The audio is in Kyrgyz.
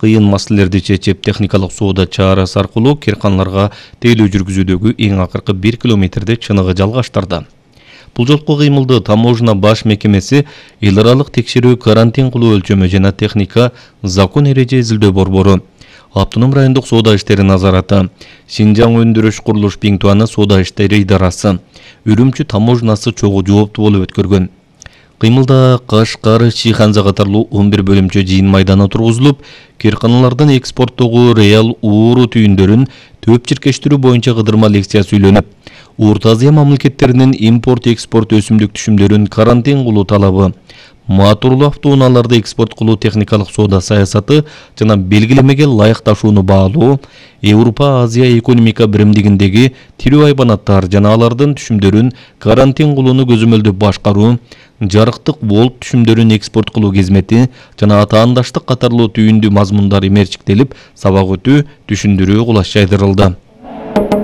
кыйын маселелерди чечип, техникалык соода чарасы аркылуу кыйрканаларга тейлөө жүргүзүүдөгү эң акыркы 1 километрде чыныгы жалгаштырды. Бул жолку кыймылды таможня баш мекемеси эл аралык текшерүү, карантин кылуу өлчөмү жана техника закон эреже изилдөө борбору, Автоном райондук соода иштери назараты, Синжаң өндүрүш курулуш Биңтуаны соода иштери идарасы, Үрүмчү таможнасы чогуу жооптуу болуп өткөргөн. Кыймылда Кашкар, Шиханза катарлуу 11 бөлүмчө жыйын майданы тургузулуп, кыйрканалардын экспорттогу реал ууру түйүндөрүн төп чиркештирүү боюнча кыдырма лекция сүйлөнүп, Орто Азия мамлекеттеринин импорт-экспорт өсүмдүк түшүмдөрүн карантин кылуу талабы, моторлуу автоунааларды экспорт кылуу техникалык соода саясаты жана белгилемеге ылайыкташууну баалоо, Европа-Азия экономика биримдигиндеги тирүү айбанаттар жана алардын түшүмдөрүн карантин кылууну көзөмөлдөп башкаруу, жарыктык волт түшүмдөрүн экспорт кылуу кызмети жана атаандаштык катарлуу түйүндүү мазмундар мерчиктелип, сабак өтүү, түшүндүрүү кулаш жайдырылды.